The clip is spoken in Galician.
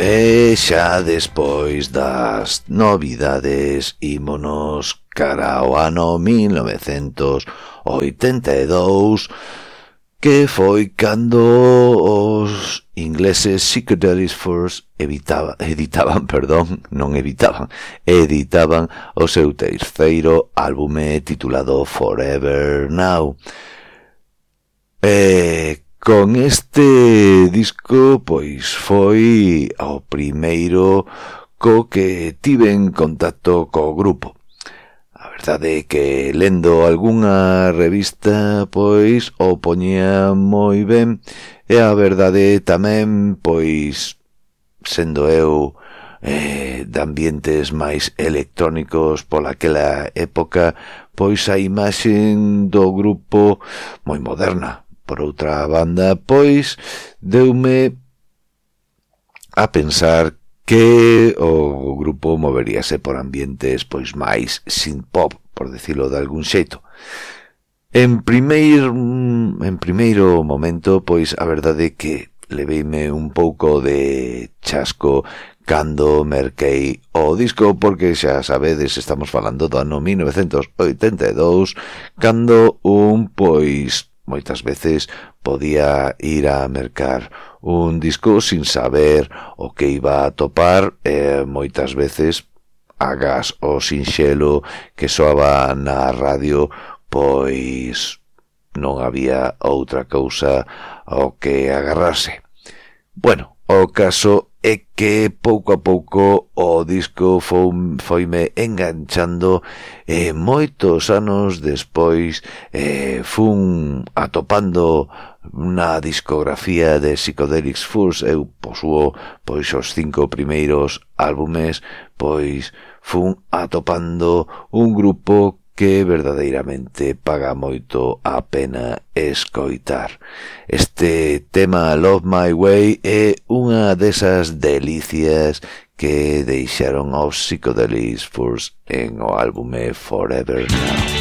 E xa despois das novidades ímonos cara ao ano 1982, que foi cando os ingleses Psychedelic Furs editaban o seu terceiro álbume titulado Forever Now. Con este disco, pois, foi o primeiro co que tiven contacto co grupo. A verdade é que lendo algunha revista, pois, o poñía moi ben, e a verdade tamén, pois, sendo eu de ambientes máis electrónicos polaquela época, pois a imaxe do grupo moi moderna. Por outra banda, pois, deume a pensar que o grupo moveríase por ambientes pois máis synth-pop, por decirlo de algún xeito. En primeiro momento, pois, a verdade é que leveime un pouco de chasco cando merquei o disco, porque xa sabedes, estamos falando do ano 1982, cando pois, moitas veces podía ir a mercar un disco sin saber o que iba a topar, e moitas veces, agás o sinxelo que soaba na radio, pois non había outra cousa ao que agarrarse. Bueno, o caso é que pouco a pouco o disco foime enganchando, e moitos anos despois fun atopando na discografía de Psychedelic Furs. Eu posúo pois os 5 primeiros álbumes, pois fun atopando un grupo que verdadeiramente paga moito a pena escoitar. Este tema Love My Way é unha desas delicias que deixaron os Psychedelic Furs en o álbume Forever Now.